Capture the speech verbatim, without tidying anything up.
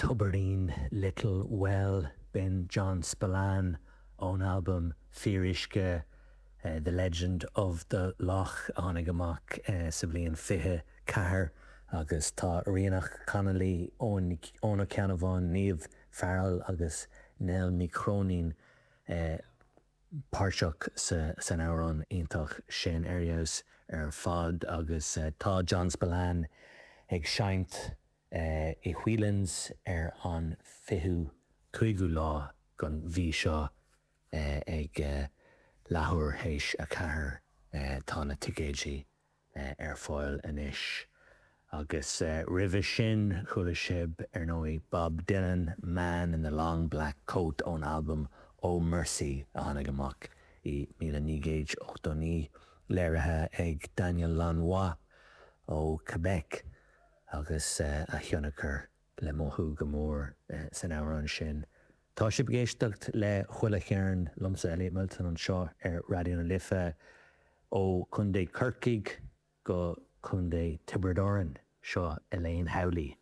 Tobairín, Little Well, b'in John Spillane ón albam Fíoruisce, The Legend of the Lough a tháinig amach sa bhliain fiche ceathair agus tá Ríonach Connolly, Eoin Ó Ceannabháin, Niamh Farrell agus Nell Ní Chróinín páirteach san amhrán iontach sin ar fheabhas ar fad agus tá John Spillane ag seinnt i Whelan's ar an fichiú cúigiú lá den mhí seo ag leathuair théis a ceathair. Tá na ticéidí ar fáil anois. Agus roimhe sin chuala sibh ar ndóigh Bob Dylan, Man in the Long Black Coat ón albam Oh Mercy a tháinig amach i míle naoi gcéad ochtó naoi, léirithe ag Daniel Lanois ó Quebec agus a thionchar le mothú go mór san amhrán sin. Tá sibh ag éisteacht le Chuile Cheirn liomsa Elliot Milton anseo ar Raidió na Life ó Chontae Corcaigh go Contae Tiobraid Árann, seo Elaine Howley.